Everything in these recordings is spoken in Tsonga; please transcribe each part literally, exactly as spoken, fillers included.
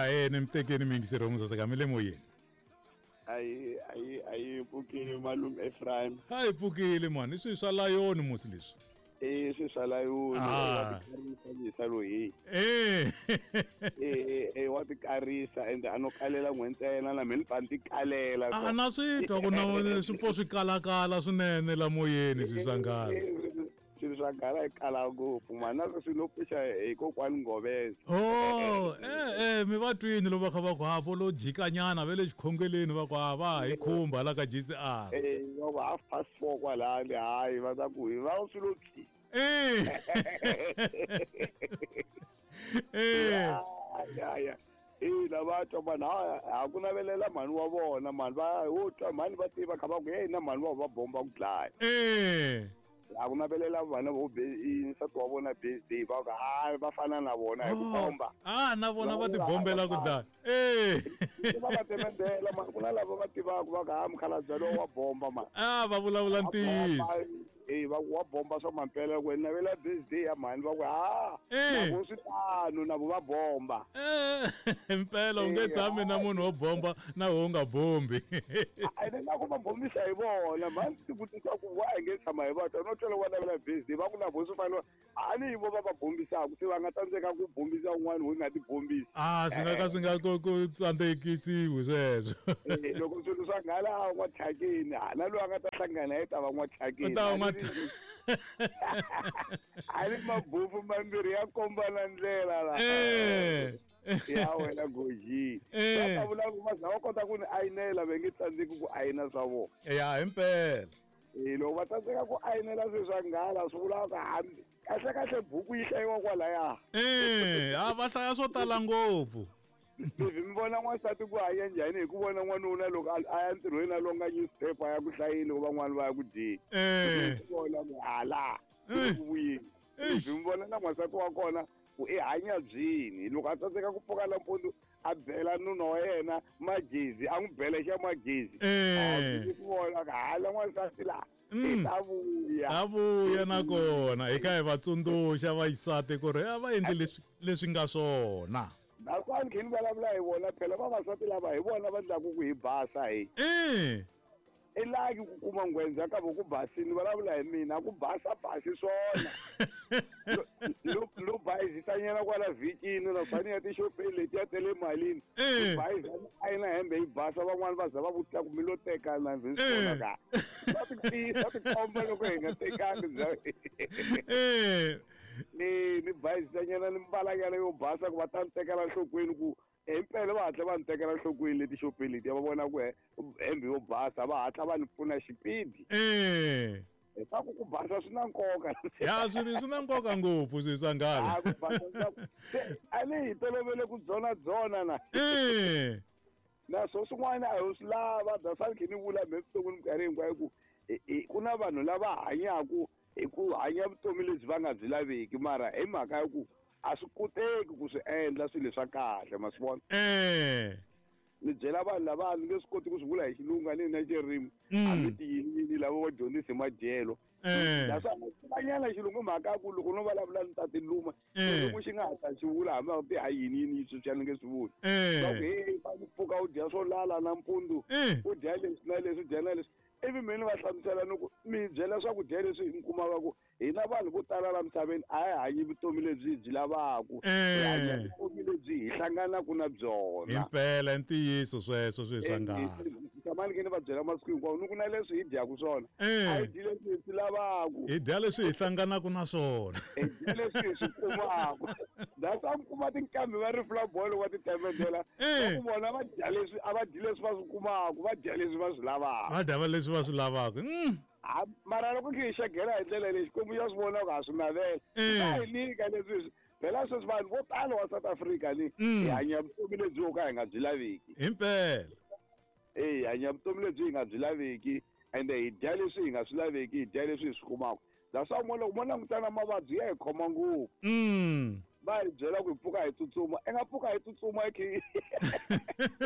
Ahee, ni mitekeni miyingiseri wa Musaseka mi le moyeni. Ayi ayi ayi pfukile malume Ephraim. A hi pfukile mani, i swilo swa layoni musi leswi. Eh swi swa layoni Ah. wa tikarisa yisa loyi. Eh. Eh eh wa tikarisa ende a no kalela n'we ntsena na mina ni pfa ni tikalela. A na swi twa ku na swi pfo swi kalakala swinene la moyeni swilo swa nghala. Swilo swa nghala yi kala ngopfu mani na sweswi no pfuxa hi kokwani Ngoveza. Oh, eh eh mi va twini loko va kha va ku ha vo lo jikanyana va le xikhongeleni va ku ha va hi khumba la ka G C R. Eh va ku half past four kwalani hayi va ta ku hi va swilo pyi. Eh. Eh. Ya ya. Eh lava twa vanhu ha ha ku navelela mhani wa vona mhani va wo twa mhani va tiva kha va ku hey na mhani wa va bomba ku dlaya. Eh. A ku navelela vana vo nsati wa vona birthday va ku hayi va fana na vona hi ku bomba. Ah na vona va ti bombela ku dlaya. Eh. Va va temendela mani ku na lava va tivaka va ku ha mukhalabye lowu wa bomba mani. Ah va vulavula ntiyiso. Eh va wa bomba swa mampela ku navela birthday ya mhani va ku ha na vo swi tano na vo va bomba. Eh impela u nge tshami na munhu wo bomba na wo nga bombi. A na ku va bombisa hi vona mhani ti vutisa ku wa hi nge tshama hi va twa no twela wa navela birthday va ku na vo swi fanele a ni vo va va bombisaka se va nga tsandzeka ku bombisa un'wana wo nga ti bombisi. Ah swi nga ka swi nga ku ku tsandzekisiwi sweswo. Eh loko swilo swa nghala a n'wa thyakeni na loyi a nga ta hlangana yi ta va n'wa thyakeni. U ta va n'wa A ni mabufu mambirhi ya kombana ndlela la. Eh. Ya wena goji. Va ta vula ku va za va kota ku ni ayinela va nge tsandzeki ku ayina swa vona. Ya himpela. Eh loko va tsandzeka ku ayinela swilo swa nghala swi vula ku hambi kahle kahle buku yi hlayiwa kwalaya. Eh, a va hlaya swo tala ngopfu. Mi vona n'wansati ku hanya njhani hi ku vona n'wanuna loko a ya ntirhweni a longa newspaper ya ku hlayeni loko van'wani va ya ku dyeni. Eh. Vona ku hala ku vuyeni. Mi vona na n'wansati wa kona ku i hanya byini loko a tsandzeka ku pfuka nampundzu a bela nuna wa yena magezi a n'wi bela xa magezi. Eh. Ku vona ku hala n'wansati la. Ta vuya. Ta vuya nakona hi kha hi va tsundzuxa vaxisati ku ri a va endli leswi leswi nga swona. Naswona khe ni vulavula hi vona phela vavasati lava hi vona va endlaku ku hi basa hi. Eh. I laki ku kuma nghwendza ka vo ku basini vulavula hi mina ku basa basi swona. Lo lo bayizisanyana kwala vhikini na fani ya tixopeni letiya ta le malini. Bayiza a yi na hembe yi basa van'wani va za va vutisa ku mi lo tekana ndzi swi vona ka. Va ti tiyisa ti komba loko hi nga tekangi bya. Eh. Ni ni bayizisanyana ni mbalanyana yo basa ku va ta ni tekela enhlokweni ku himpela va hatla va ni tekela enhlokweni leti xopeni letiya va vona ku hembe yo basa va hatla va ni pfuna xipidi. Eh. Hi ku ku basa swi na nkoka. Ya swi swi na nkoka ngopfu swilo swa nghala. A ku basa a ni hi tolovele ku dzona dzona na. Eh. Na swo swin'wana a hi swi lava that's khe ni vula me vuton'wini minkarhi hinkwayo ku ku na vanhu lava hanyaka hi ku hanya vutomi lebyi va nga byi laveki mara hi mhaka ya ku a swi koteki ku swi endla swilo swa kahle ma swi vona. Eh. Ni byela vanhu lava ni nge swi koti ku swi vula hi xilungu a ni na xirimi hambi tiyini lava va dyondzisa hi madyelo. Naswona vanyana xilungu mhaka ya ku loko no vulavula ni ta tiluma xilungu xi nga ha ta xi vula hambi a ti ha yini yini sweswi a ni nge swi vuli. Va ku hey va ku pfuka u dya swo lala nampundzu u dya leswi na leswi u dya na leswi ivi mina va hlamusela ni ku mi byela swakudya leswi mi kumaka ku hina vanhu vo tala la misaveni a hi hanyi vutomi lebyi hi byi lavaku hi hanya vutomi lebyi hi hlanganaka na byona. Himpela ntiyiso sweswo swilo swa nghala. Tshama ni khe ni va byela masiku hinkwawo ni ku na leswi hi dyaka swona a hi dyi leswi hi swi lavaku hi dya leswi hi hlanganaka na swona hi dya leswi hi swi kumaka. That's why mi kuma tinqambi va ri flabolo va ti temendela va ku vona va dya leswi a va dyi leswi va swi kumaka va dya leswi va swi lavaka va dya leswi va swi lavaka. Mara loko khe hi xegela hi ndlela leyi Xikwembu xa swi vona ku ha swi navela va hi nyika leswi phela sweswi vanhu vo tala wa South Africa ni hi hanya vutomi lebyi ho ka hi nga byi laveki. Himpela. Eh hi hanya vutomi lebyi hi nga byi laveki ende hi dya leswi hi nga swi laveki hi dya leswi hi swi kumaka. That's why loko mo langutana mavabyi ya hi khoma ngopfu. Va hi byela ku hi pfuka hi tsutsuma i nga pfuka hi tsutsuma hi khe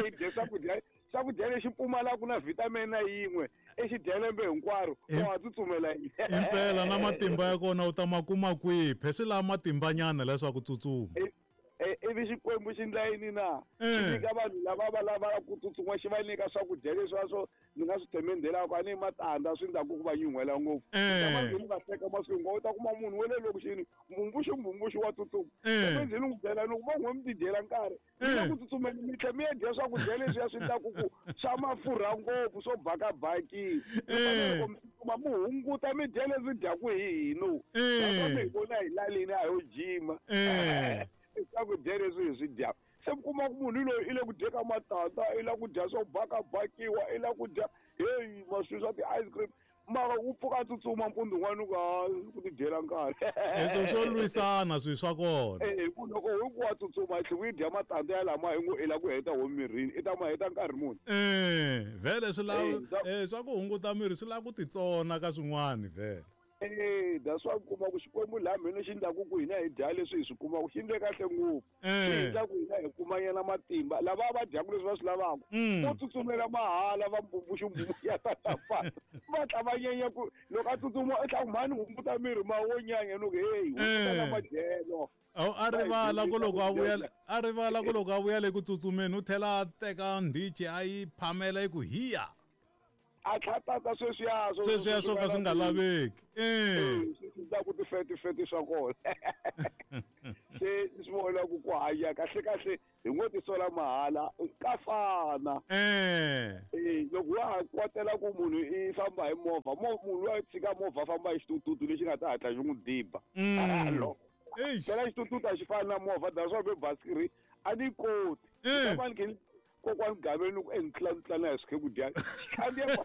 hi dya swakudya swakudya lexi pfumalaka na vitamin na yin'we i xi dya lembe hinkwaro u ha tsutsumela yini. Himpela na matimba ya kona u ta ma kuma kwihi phe swi lava matimbanyana leswaku tsutsuma. Ivi xikwembu xi ndla yini na xi nyika vanhu lava va lavaka ku tsutsuma xi va nyika swakudya leswiya swo ni nga swi themendhelaka a ni matandza swi ndlaku ku va nyuhela ngopfu ni va hleka masiku hinkwawo u ta kuma munhu wa le lokixini mbumbuxi mbumbuxi wa tsutsuma ndzi ni n'wi byela loko va n'we mi tidyela nkarhi mi le ku tsutsumeni mi tlhe mi ya dya swakudya leswiya swi ndlaku ku swa mafurha ngopfu swo bakabakini loko mi tsutsuma mi hunguta mi dya leswi dyaku hi hino mi hi vona hi lalini a yo jima swakudya leswi hi swi dyaka se mi kuma ku munhu loyi i le ku dyeka matandza i la ku dya swo bakabakiwa i la ku dya heyi maswi swa ti-ice cream mara u pfuka a tsutsuma mpundzu wun'wana ku ha ku tidyela nkarhi leswo swo lwisana swilo swa kona e ku loko hi ku wa tsutsuma hi tlhe u yi dya matandza ya lama hi ngo i la ku heta ho mirini i ta ma heta nkarhi muni e vhele swi lava e swa ku hunguta miri swi lava ku titsona ka swin'wana vhele Eh that's why kuma ku xikwembu laha mina xi ndlaku ku hina hi dya leswi hi swi kumaka xi ndle kahle ngopfu xi ndla ku hina hi kumanyana matimba lava va dyaka leswi va swi lavaka vo tsutsumela mahala va mbumbuxi mbumbuxi ya tata va tla va nyanya ku loko a tsutsuma i tla ku mhani hunguta miri ma wo nyanya ni ku heyi hunguta na madyelo a rivala ku loko a vuya a rivala ku loko a vuya le ku tsutsumeni u tlhela a teka ndhichi a yi phamela yi ku hiya a tlhatata sweswiya sweswiya swo ka swi nga laveki eh swi ku tifeti feti swa kona se swi vona ku ku hanya kahle kahle hi ngo tisola mahala ka fana eh eh loko wa ha kwatela ku munhu i famba hi movha munhu loyi a tshika movha famba hi xitututu lexi nga ta hatla xi n'wi diba phela xitututu a xi fani na movha that's why basikiri a ni koti ni kokwani Gaveni ku entlana hi swikhekudya khandziya loko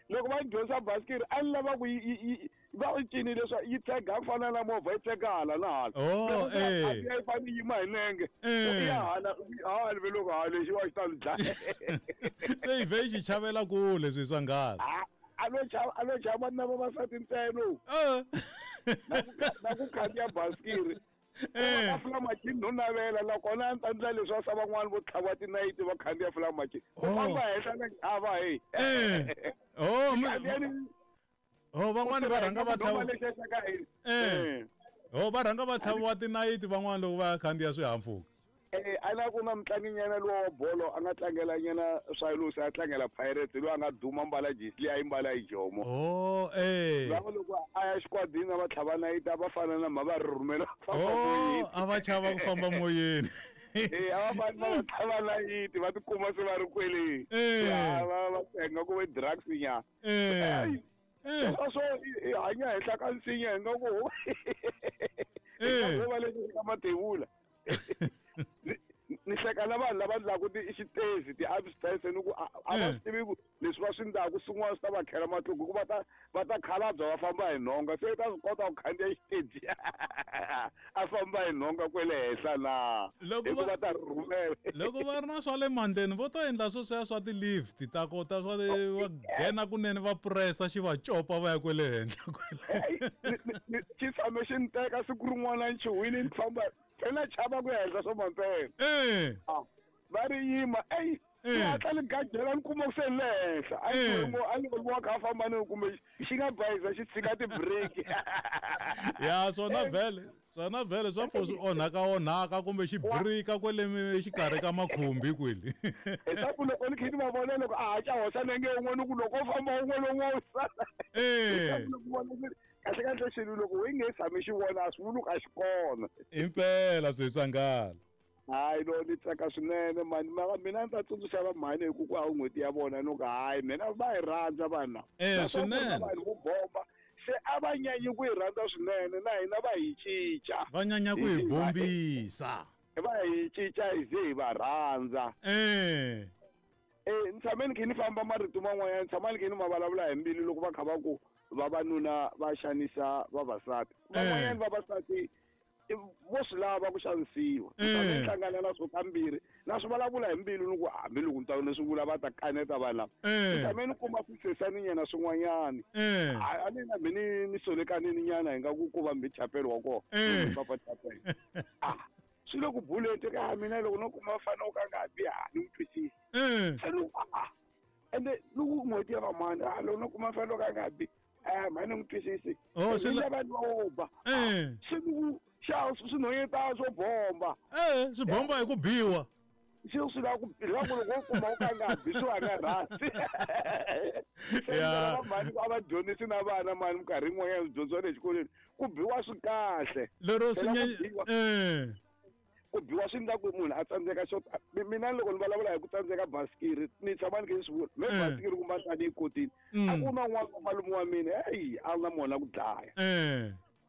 loko va dyondzisa basikiri a ni lava ku va yi cinile swa yi tshega ku fana na movha yi tshega hala na hala yi fane yima hi nenge ya hala hala ve loko hala lexi wa xi ta ni dlaya se yi vhe yi xi chavela kule swilo swa nghala a lo chava a lo chava na vavasati ntsena na ku khandziya basikiri eh fula machini no navela nakona a ni ta ndla leswi wa swa van'wani vo tlhava tinayiti va khandziya fula machini u famba henhla na ava hey oh oh van'wani va rhanga va tlhava eh oh va rhanga va tlhaviwa tinayiti van'wani loko va khandziya swihahampfhuka eh a na ku na mutlanginyana lowa wa bolo a nga tlangela nyana Swallows a tlangela Pirates loyi a nga duma mbala jesi leyi a yi mbala hi jomo oh eh lava loko a ya xikwadini va tlhava nayiti a va fana na mha va ri rhumela famba moyeni a va chava ku famba moyeni eh a va fani va tlhava nayiti va tikuma se va ri kwele va va tenga ku ve drugs nya eh swo hi hanya henhla ka nsinya hi nga ku eh va le ka matevula ni hleka na vanhu lava ndlaku ti xitezi ti-upstairs ni ku a va swi tivi ku leswi va swi ndlaku swin'wana swi ta va khela matluku hikuva ta va ta khalabya va famba hi nhonga se i ta swi kota ku khandziya xiteji a famba hi nhonga kwele henhla na hikuva va ta rhumela loko va ri na swa le mandleni vo to endla sweswiya swa ti-lift ta kota swa va nghena kunene va pressa xi va copa va ya kwele henhla kwele xi tshame xi ni teka siku rin'wana ni chuhwini ni famba phela chava ku ya henhla swa mampela eh va ri yima ey hatla ni gajela ni kuma ku se le henhla a ni a ni wa kha famba ni kumbe xi nga bayiza xi tshika ti-break ya swona vhele swona vhele swa pfo swi onhaka onhaka kumbe xi brika kwele xikarhi ka makhumbi kwele hi loko ni kha ni va vona loko a haxa hoxa nenge wun'we ni ku loko u famba wun'we lowun'we wu sala eh kahle kahle xilo loko u nge tshami xi vona a swi vuli ku a xi kona impela byi swa nghala hayi no ni tsaka swinene mani mara mina ni ta tsundzuxa va mhani hi ku ku a n'hweti ya vona ni ku hayi mina va hi rhandza vanhu lava eh swinene vanhu vo bomba se a va nyanyi ku hi rhandza swinene na hina va hi cinca va nyanya ku hi bombisa va hi cinca hi ze hi va rhandza eh eh ni tshame ni khe ni famba marito man'wanyana ni tshama ni khe ni ma vulavula hi mbilu loko va kha va ku vavanuna va xanisa vavasati van'wanyana vavasati vo swi lava ku xanisiwa ni hlangana na swo kambirhi na swi vulavula hi mbilu ni ku hambi loko ni ta ni swi vula va ta kaneta vanhu lava ni tshame ni kuma swisesaninyana swin'wanyani a ni na mi ni ni solekanini nyana hi nga ku ku va mbi chapelo wa kona papa chapelo ah swi le ku buleni ka mina loko no kuma fana u ka nga bi ha ni n'wi twisisi se ni ah ende loko n'hweti ya vamani a loko no kuma fana u ka nga bi eh mani n'wi twisisi oh se la vanhu va ba eh se ni Xa swinhonyetana swo bomba. Eh, swi bomba hi ku biwa. Xi swi lava ku lava loko u kuma u ka nga bi swi nga rhandzi. Ya. Mani a va dyondzisi na vana mani minkarhi yin'wanyana swi dyondziwa le xikolweni ku biwa swi kahle. Lero swi eh ku biwa swi endla ku munhu a tsandzeka xo mina loko ni vulavula hi ku tsandzeka basikiri ni tshama ni khe ni swi vula me basikiri kumbe a ni yi kotile a ku na un'wana malume wa mina heyi a na mona ku dlaya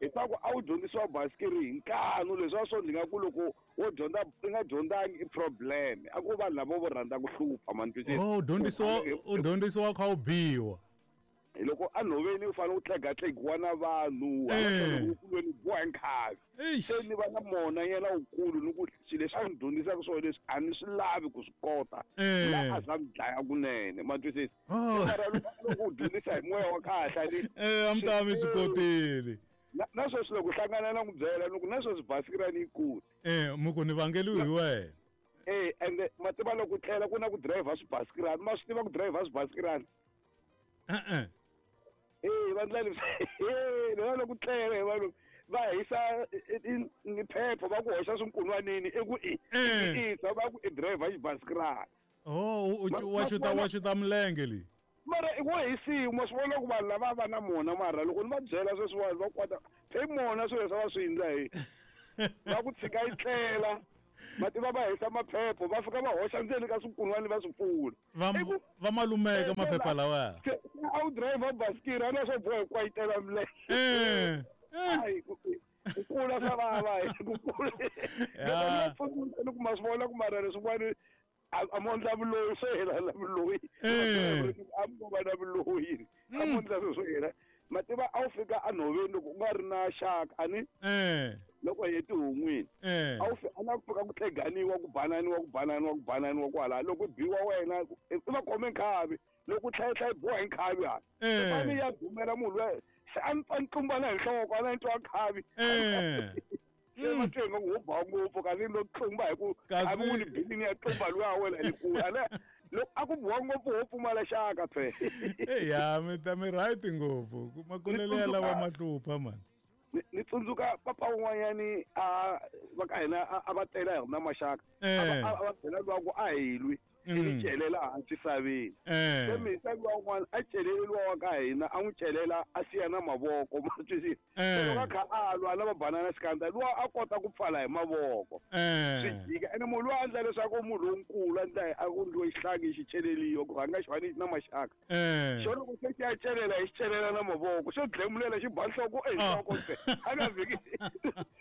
hi ta ku a wu dyondzisiwa basikiri hi nkanu leswi a swo ndzi nga ku loko wo dyondza i nga dyondzangi i problem a ku vanhu lava vo rhandza ku hlupha mani twisisa oh dyondzisiwa u dyondzisiwa kha u biwa hi loko a nhoveni u fanele u tlegatlegiwa na vanhu kulweni biwa hi nkhavi se ni va na mona yena wukulu ni ku swilo leswi a ni dyondzisaka swona leswi a ni swi lavi ku swi kota la a za ni dlaya kunene ma twisisa mara loko u dyondzisa hi moya wa kahle ni a mi ta mi swi kotile na sweswi loko hlangana na ku byela loko na sweswi basikiri a ni yi koti eh muku ni vangeliwi hi wena eh ende ma tiva loko tlela ku na ku driver swibasikirani ma swi tiva ku driver swibasikirani eh eh va ndlela eh loko loko tlela hi vanhu va hisa ni phepha va ku hoxa swinkunwanini i ku i i va ku i driver xibasikirani oh wa xuta wa xuta milenge li mara i wo hisiwa ma swi vona ku vanhu lava va na mona mara loko ni va byela sweswiwani va kwata phe mona swilo leswi va swi endla hi va ku tshika yi tlela ma tiva va hisa maphepha va fika va hoxa ndzeni ka swinkunwani va swi pfula va malumeka maphepha lawaya a wu driver basikiri a na swo boha ku kwayitela milenge hayi ku kula swa vava ku kula loko ni kuma swi vona ku mara leswin'wani a mo ndla vuloyi swo hela la vuloyi a mo va na vuloyi a mo ndla swo hela ma tiva a wu fika enhoveni loko u nga ri na xaka a ni loko hi tihon'wini a wu a na ku fika ku tleganiwa ku bananiwa ku bananiwa ku bananiwa kwala loko biwa wena i va khome nkhavi loko tlhayitlhayi biwa hi nkhavi hala fane ya dumela munhu loyi se a ni pfa ni tlumbana hi nhloko a na ni twa nkhavi ma twe nga ku ba ngopfu kasi lo tlumba hi ku a ku ni bilini ya tlumba luya wena hi ku ala loko a ku biwa ngopfu wo pfumala xaka phe ya mi ta mi right ngopfu makulele ya lava mahlupha mani ni tsundzuka papa un'wanyani a va ka hina a va tela hi na maxaka a va byela luwa ku a hi lwi i celela hansi saveni se misa luwa un'wana a celele luwa wa ka hina a n'wi celela a siya na mavoko ma twisisa loko a kha a lwa na va banana xikandza luwa a kota ku pfala hi mavoko swi jika ene munhu luwa a endla leswaku munhu lonkulu a endla a ku ndliwe xihlangi xi celeliwa ku rhanga xi fane na maxaka xo loko se xi ya celela hi xi celela na mavoko xo dlemulela xi ba nhloko enhloko se a nga vhiki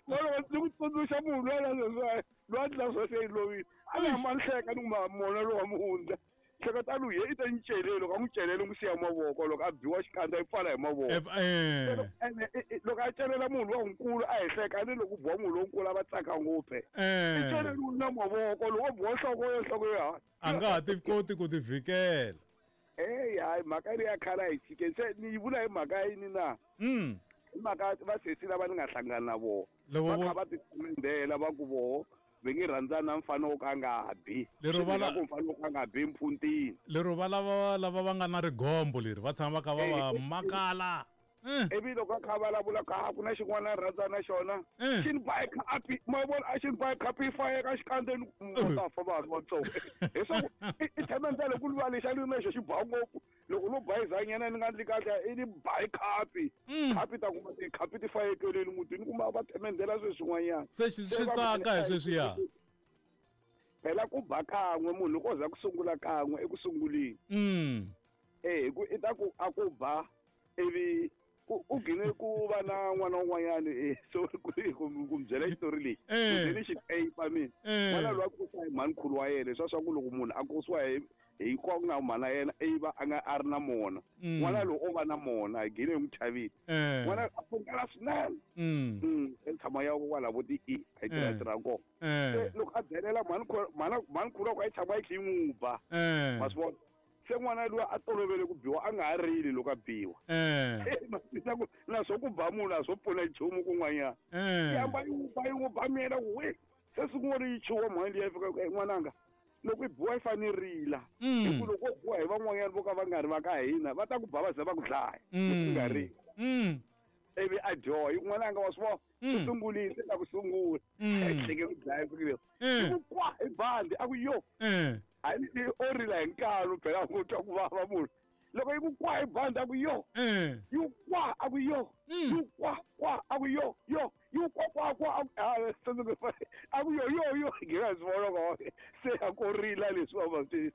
loko ni ku tsundzuxa munhu luya leswiwa luwa ndla swo se yi lovile a nga ma nhleka ni kuma mona lowa muhundza hleketa lu ye i ta ni celele loko a n'wi celele n'wi siya mavoko loko a biwa xikandza yi pfala hi mavoko ene loko a celela munhu lonkulu a hi hleka ni loko biwa munhu lonkulu a va tsaka ngopfu i celeliwe na mavoko loko o biwa nhloko yo nhloko yo a nga ha ti koti ku ti vhikela eyi hayi mhaka leyi ya khale a hi tshikeni se ni yi vula hi mhaka yini na hi mhaka vasesi lava ni nga hlangana na vona va kha va tikhomendela va ku voho va nge rhandzana mfana wo ka nga bi lero va ku mfana wo ka nga bi mpfhuntini lero va lava lava va nga na rigombo leri va tshama va kha va va makala ivi loko a kha vulavula ka ku na xin'wana a rhandza na xona xi ni ba khapi ma vona a xi ni ba khapi yi fayeka xikandzeni va ta fa vanhu vatsongo leswaku i themendela ku luva lexa ni na xo xi ba ngopfu loko no bayizanyana ni nga ndli kahle i ni ba khapi khapi ta kuma tikhapi ti fayekeleni mutini kuma va themendela sweswi swin'wanyana se swi tsaka hi sweswiya phela ku ba kan'we munhu loko o za ku sungula kan'we eku sunguleni eh hi ku i ta ku a ku ba ivi u gine ku va na n'wana un'wanyana eh so ku ku byela xitori lexi ku byele xiteyipa mina n'wana loyi a kurisiwa hi mhanikhulu wa yena leswiya swa ku loko munhu a kurisiwa hi hi kwa ku nga mhana yena i va a nga a ri na mona n'wana loyi o va na mona hi gine hi n'wi chavile n'wana a pfukela swinene e tshama ya kwala vo ti i a yi tirha tirha kona se loko a byelela mhanikhulu wa ku a yi tshama yi kha yi n'wi ba ma swi vona se n'wana luya a tolovele ku biwa a nga ha rili loko a biwa naswo ku ba munhu a swo pfuna nchumu kun'wanyana yi hamba yi n'wi ba yi n'wi ba miyela ku we se siku rin'wana yi chuha mhani liya yi fika n'wananga loko i biwa yi fanele rila hi ku loko u biwa hi van'wanyana vo ka va nga ri va ka hina va ta ku ba va ze va ku dlaya loko u nga rili Ivi a dyoha n'wananga wa swi vona u sungulile la ku sungula ehleke ku dlaya ku ku kwa hi bandi a ku yo a ni o rila hi nkalo phela ku twa ku vava munhu loko yi ku kwa hi bandi a ku yo yi kwa a ku yo yi kwa kwa a ku yo yo yi kwa kwa kwa a a ku yo yo yo ngi swi vona ko se a ko rila leswi va va swi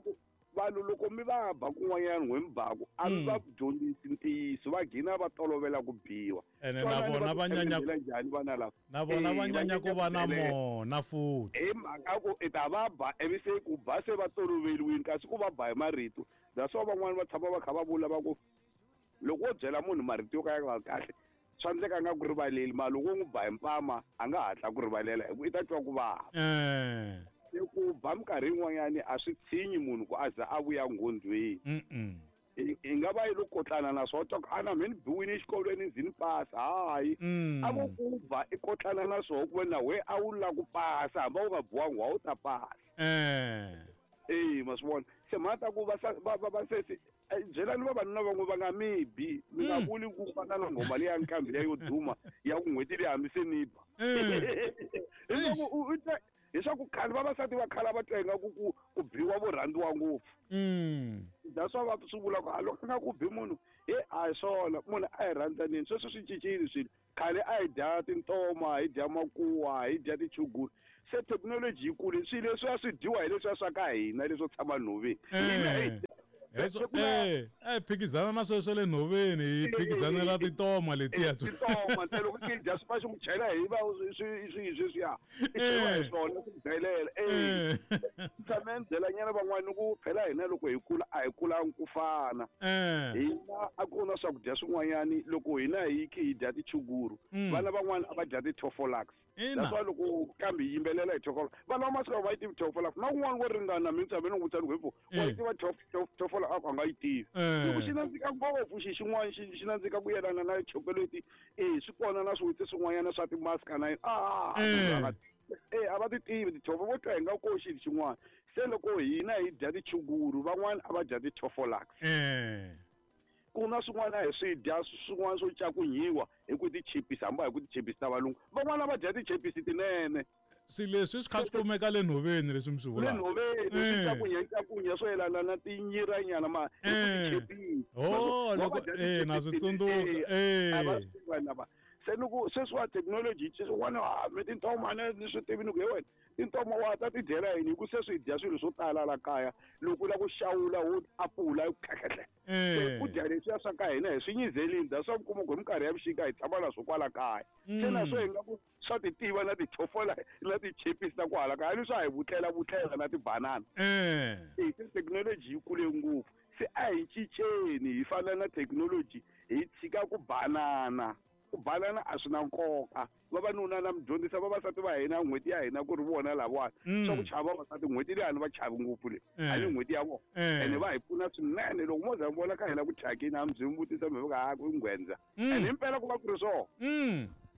ku vanhu loko mi va ba kun'wanyana n'we mi baku a mi va dyondzisi ntiyiso va gina va tolovela ku biwa ene na vona va nyanya njhani vana lava na vona va nyanya ku va na mona futhi hi mhaka ku i ta va ba ivi se ku ba se va toloveliwini kasi ku va ba hi marito that's why van'wani va tshama va kha va vula va ku loko wo byela munhu marito yo ka ya nga kahle swa endleka a nga ku rivaleli mara loko u n'wi ba hi mpama a nga hatla ku rivalela hi ku i ta twa ku vava ku ba minkarhi yin'wanyani a swi tshinyi munhu ku a za a vuya nghondweni i nga va yi lo kotlana na swona twa ku a na me ni biwile exikolweni ndzi ni pasa hayi a vo ku ba i kotlana na swona ku ve na we a wu lava ku pasa hambi a wu nga biwangi wa wu ta pasa e ma swi vona se mhaka ta ku va va va sesi byelani vavanuna van'we va nga mi bi mi nga vuli ku fana na nghoma leyi ya nkambi leyi yo duma ya ku n'hweti leyi hambi se ni ba hileswaku leswaku khale vavasati va khala va twa ingaku ku ku biwa vo rhandziwa ngopfu that's why va swi vula ku a loko nga ku bi munhu he a hi swona munhu a hi rhandzanini sweswo swi cincile swilo khale a hi dya tintoma hi dya makuwa hi dya tichuguru se thekinoloji yi kule swilo leswi a swi dyiwa hi leswiya swa ka hina leswo tshama nhoveni eh eh phikizana na sweswo le nhoveni hi phikizanela tintoma letiya tintoma ntsena loko ti dya swi fa swi ku chela hi va swi swi sweswiya i cheliwa hi swona swi ku dlayelela eh tshame ni byela nyana van'wani ku phela hina loko hi kula a hi kulangi ku fana hina a ku na swakudya swin'wanyani loko hina hi khe hi dya tichuguru vana van'wani a va dya ti-tofolax that's why loko kambe yi yimbelela hi tofola vana va masiku va yi tivi tofola na kun'wana wo ringana mi tshame ni n'wi vutisa ni ku wa yi tiva tofola a ku a nga yi tivi loko xi nandzika ngopfu xi xin'wana xi xi nandzika ku yelana na chocolate e swi kona na swiwitsi swin'wanyana swa timaska na yini a e a va ti tivi tithofa vo twa hi nga ko xilo xin'wana se loko hina hi dya tichuguru van'wana a va dya ti-tofolax ku na swin'wana hi swi dya swin'wana swo cakunyiwa hi ku tichipisi hambi hi ku tichipisi ta valungu van'wana va dya tichipisi tinene swilo leswi swi kha swi kumeka le nhoveni leswi mi swi vulaka le nhoveni swi cakunya cakunya swo yelana na tinyiranyana ma hi ku tichipisi oh loko eh na swi tsundzuka eh se ni ku sweswiwa thekinoloji swin'wana a mi tintoma ni swi tivi ni ku he wena tintoma wa ta ti dyela yini hi ku se swi dya swilo swo tala la kaya loko u lava ku xawula wo apula khekhehle se ku dya leswiya swa ka hina hi swi nyizelini that's why mi kuma ku hi minkarhi ya vuxika hi tshama na swo kwala kaya se na swo hi nga ku swa ti tiva na tithofola na tichipisi ta kwahala kaya ni swa hi vutlela vutlela na tibanana e se thekinoloji yi kule ngopfu se a hi cinceni hi fana na thekinoloji hi tshika ku banana ku banana a swi na nkoka vavanuna na mi dyondzisa vavasati va hina n'hweti ya hina ku ri vona lavawani swa ku chava vavasati n'hweti leyi a ni va chavi ngopfu leyi a ni n'hweti ya vona ene va hi pfuna swinene loko mo za mi vona ka hina ku thyakini a mi byi mi vutisa mi va ha ku nghwendza ene himpela ku va ku ri swona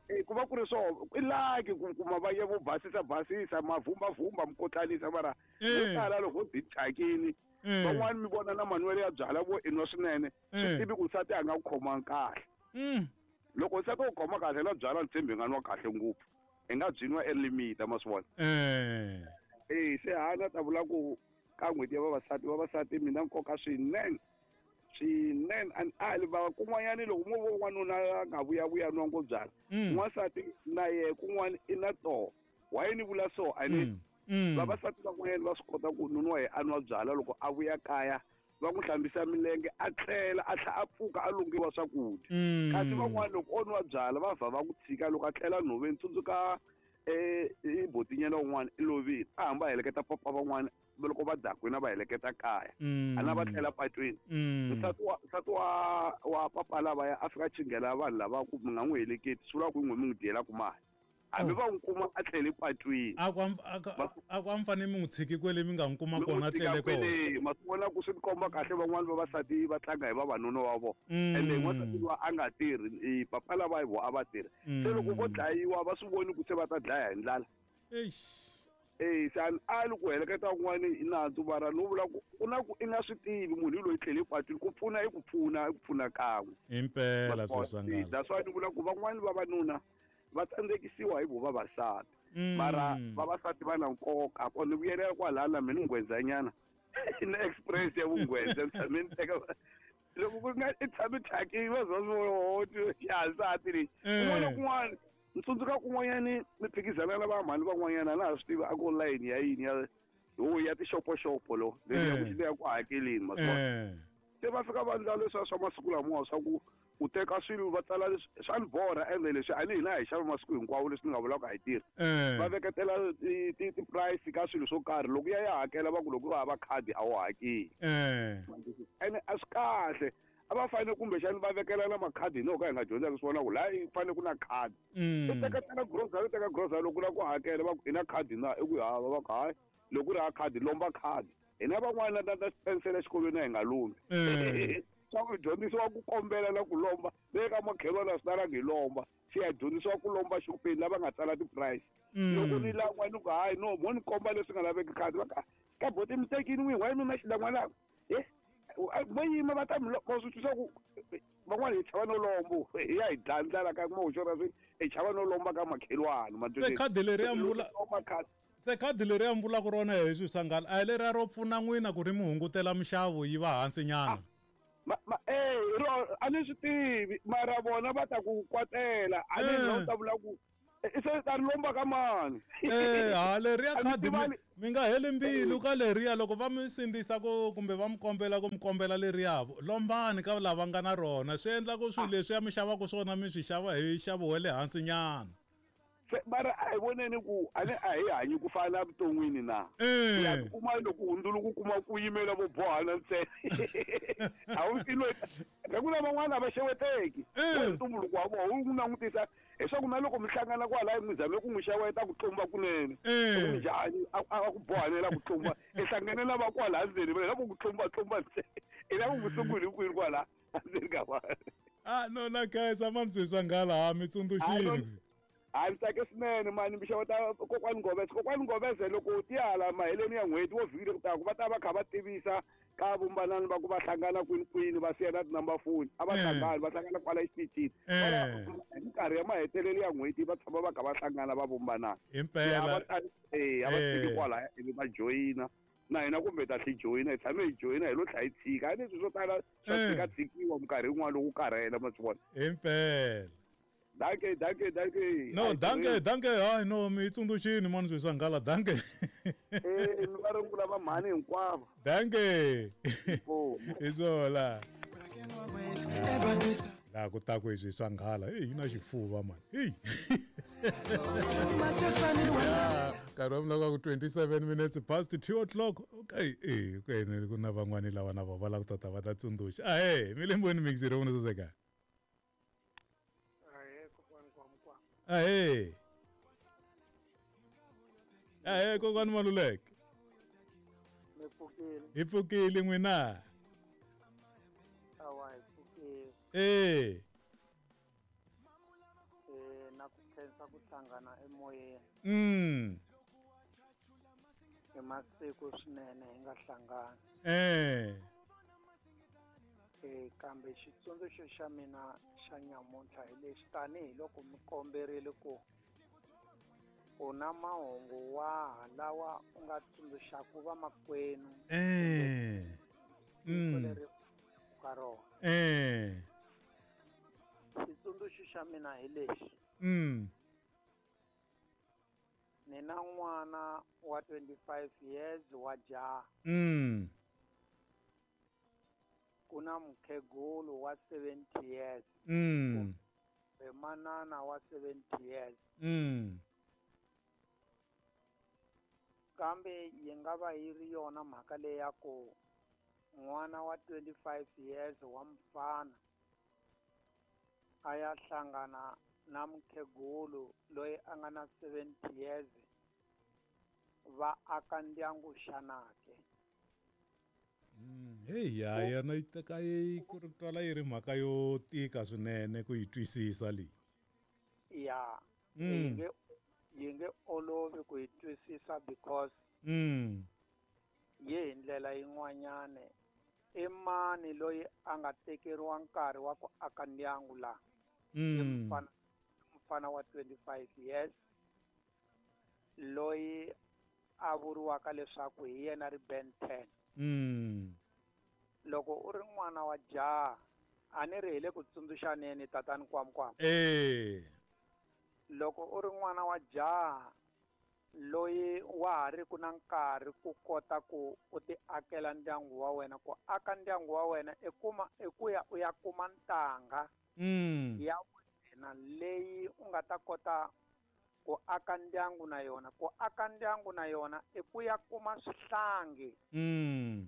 e ku va ku ri swona i laki ku kuma va ya vo basisa basisa mavhumbavhumba mi kotlanisa mara vo tala loko byi thyakini van'wani mi vona na manwelo ya byala vo inwa swinene swi tivi ku nsati a nga ku khomangi kahle loko nsati u khoma kahle na byala ni tshembi nga nwa kahle ngopfu hi nga byi nwa elimita ma swi vona e se hana ta vula ku ka n'hweti ya vavasati vavasati mina nkoka swinene swinene a ni ali va kun'wanyani loko mo vo n'wanuna a nga vuyavuya nwa ngo byala n'wansati na yehe kun'wana i na toho why ni vula so a ni vavasati van'wanyani va swi kota ku nuna wa ye a nwa byala loko a vuya kaya va n'wi hlambisa milenge a tlela a tlhela a pfuka a lungiwa swakudya kasi van'wana loko o nwa byala va vha va ku tshika loko a tlela nhoveni tsundzuka um botinyana wun'wana i lovile a hamba a heleketa papa van'wana loko va dakwini va heleketa kaya a na va tlela patwini nsati wa nsati wa wa papa lavaya a fika chinghela vanhu lava ku mi nga n'wi heleketi swi vula ku n'we mi n'wi dyelaku mali hambi va n'wi kuma a tlele patwini a ku a ku a mi fanele mi n'wi tshiki kwele mi nga n'wi kuma kona a tlele kona ma swi vona ku swi komba kahle van'wani vavasati va tlanga hi vavanuna wa vona ende n'wansati loyi a nga tirhi papa lava hi vo a va tirhi se loko vo dlayiwa va swi voni ku se va ta dlaya hi ndlala eish Eh se a li ku heleketa kun'wana i nandzu mara no vula ku ku na ku i nga swi tivi munhu loyi tlhele patwini ku pfuna i ku pfuna i ku pfuna kan'we impela sweswangala that's why ni vula ku van'wani vavanuna va tsandzekisiwa hi vo vavasati mara vavasati va na nkoka ko ni vuyelela kwalaya na mina nghwenzanyana na express ya vunghwenza ni tshame ni teka loko ku nga i tshame thyakini va za swi ya nsati leyi kun'wana na kun'wana ni tsundzuka kun'wanyani ni phikizana na vamhani van'wanyana a na ha swi tivi a ku layini ya yini ya ho ya tixopoxopo lo leyi ya ku ya ku hakeleni maswona se va fika va ndla leswiya swa masiku lamawa swa ku u teka swilo va tsala swa ni borha ende leswi a ni hina hi xava masiku hinkwawo leswi ni nga vulaka a hi tirhi va veketela ti-price ka swilo swo karhi loko ya ya hakela va ku loko u hava khadi a wu hakeli ene a swi kahle a va fanele kumbexani va vekela na makhadi no ka hi nga dyondzaka swona ku laha yi fanele ku na khadi i teketela grocery u teka grocery loko u lava ku hakela va ku i na khadi na i ku hava va ku hayi loko u ri ha khadi lomba khadi hina van'wana na na xipensela exikolweni a hi nga lombi swa ku dyondzisiwa ku kombela na ku lomba le ka makhelwana swi talangi hi lomba xi ya dyondzisiwa ku lomba xopeni lava nga tsala ti-price loko ni lan'wa ni ku hayi no mo ni komba leswi nga laveki khadi va ka ka boti mi tekini n'wini why mi na xilan'wana e vo yima va ta mi va swi twisa ku van'wana hi chava no lombo hi ya hi dlaya ndlala ka moxo ra swi hi chava no lomba ka makhelwana se khadi leri ya mbula se khadi leri ya mbulaka rona hi swi sangala a hi leriya ro pfuna n'wina ku ri mi hungutela minxavo yi va hansi nyana ma ma eh ro a ni swi tivi mara vona va ta ku kwatela a ni no ta vula ku se ta lomba ka mani eh ha leriya khadi mi nga heli mbilu ka leriya loko va mi sindzisa ku kumbe va mi kombela ku mi kombela leriya lombani ka lava nga na rona swi endla ku swilo leswi ya mi xavaka swona mi swi xava hi nxavo wa le hansi nyana se mara a hi voneni ku a ni a hi hanyi ku fana evuton'wini na ya kuma loko hundzuluko kuma ku yimela vo bohana ntsena a wu ilo ku na van'wana a va xeweteki ntumbuluko wa vona wu langutisa leswaku na loko mi hlangana kwalaya mi zame ku n'wi xeweta ku tlumba kunene njhani a ku bohanela ku tlumba i hlangane na va kwala ndzeni va lava ku tlumba tlumba ntsena i lava ku sunguli kwini kwala ndzeni ka vanhu ah no na khensa mani swilo swa nghala ha mi tsundzuxini a ni tsake swinene mani mi xeweta kokwani Ngoveze kokwani Ngoveze loko ti hala maheleni ya n'hweti wo vhiki leri taka va ta va kha va tivisa ka vumbanani va ku va hlangana kwini kwini va siya na tinumber phone a va hlangani va hlangana kwala exitichini hi minkarhi ya mahetelelo ya n'hweti va tshama va kha va hlangana va vumbanana impela e a va tiki kwalaya ivi va joyina na hina kumbe ta tlhi joyina hi tshame hi joyina hi lo tlha hi tshika a leswi swo tala swa tshika tshikiwa minkarhi yin'wana loko u karhele ma swi vona impela Danke, danke, danke. No, danke, danke. Hayi no, mi tsundzuxini mani swilo swa nghala, danke. Eh, mi va rungula va mhani hinkwavo. Danke. Hi swona. Laha ku ta ku hi swilo swa nghala, eyi yi na xifuva mani. Eyi. Nkarhi wa mina ku twenty-seven minutes past two o'clock. Okay, eh, okay, ku na van'wani lava na vona va lava ku tata va ta tsundzuxa. Ahee, mi le mbweni mixi ro vona saseka. Ahee. Ahee kokwani Maluleke. Mi pfukile. Hi pfukile n'wina. Awa hi pfukile. Eh. Eh na ku khensa ku hlangana emoyeni. Mm. I masiku swinene hi nga hlangana. Eh. Eh kambe xitsundzuxo xa mina xa nyamuntlha hi lexi tanihiloko mi komberile ku u na mahungu waha lawa u nga tsundzuxaka vamakwenu eh mm. leri ka rona eh xitsundzuxo xa mina hi lexi mm. ni na n'wana wa twenty-five years wa jaha mm. ku na mukhegulu wa seventy years mm. kumbe manana wa seventy years mm. kambe yi nga va yi ri yona mhaka leyi ya ku n'wana wa twenty-five years wa mfana a ya hlangana na mukhegulu loyi a nga na seventy years va aka ndyangu xana ke Hey ya yona yi teka yi ku ri twala yi ri mhaka yo tika swinene ku yi twisisa leyi ya yi nge Yi nge olovi ku yi twisisa because mm. yi hi ndlela yin'wanyana. I mani loyi a nga tekeriwa nkarhi wa ku aka ndyangu laha? Mm. I mufana, mufana wa twenty-five years loyi a vuriwaka leswaku hi yena ri Ben ten. Mm. Loko u ri n'wana wa jaha, a ni ri hi le ku tsundzuxaneni tatani Kwamkwam. Eh. Loko u ri n'wana wa jaha loyi wa ha ri ku na nkarhi ku kota ku u ti akela ndyangu wa wena, ku aka ndyangu wa wena i kuma i ku ya u ya kuma ntanga mm. ya wena leyi u nga ta kota ku aka ndyangu na yona. Ku aka ndyangu na yona i ku ya kuma swihlangi mm.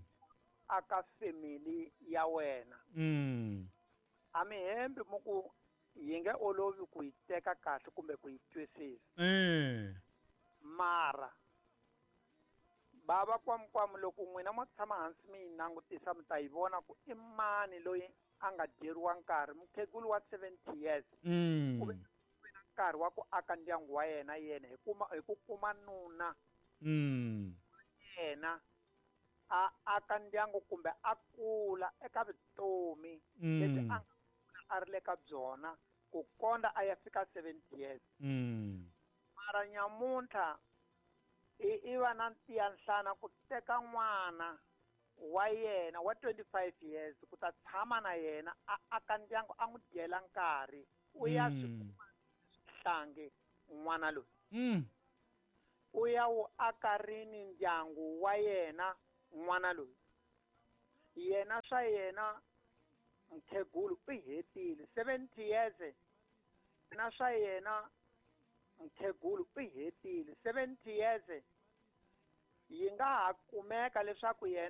aka family ya wena. Mm. A mi hembi mu ku yi nge olovi ku yi teka kahle kumbe ku yi twisisa. Eh. Mara bava Kwamkwam, loko n'wina mo tshama hansi mi yi langutisa mi ta yi vona ku i mani loyi a nga dyeriwa nkarhi. Mukhegulu wa seventy years mm. u ve na nkarhi wa ku aka ndyangu wa yena yena hi kuma hi ku kuma nuna mm. yena a aka ndyangu kumbe a kula eka vutomi mm. lebyi a nga a ri le ka byona ku konda a ya fika seventy years. Mm. Mara nyamuntlha i i va na ntiyanhlana ku teka n'wana wa yena wa twenty-five years ku ta tshama na yena a aka ndyangu a n'wi dyela nkarhi u ya swi kuma swihlangi n'wana loyi. Mm. U ya wu aka rini ndyangu wa yena n'wana loyi? Yena swa yena mukhegulu u hetile seventy years. Na swa yena mukhegulu u hetile seventy years. Yi nga ha kumeka leswaku yena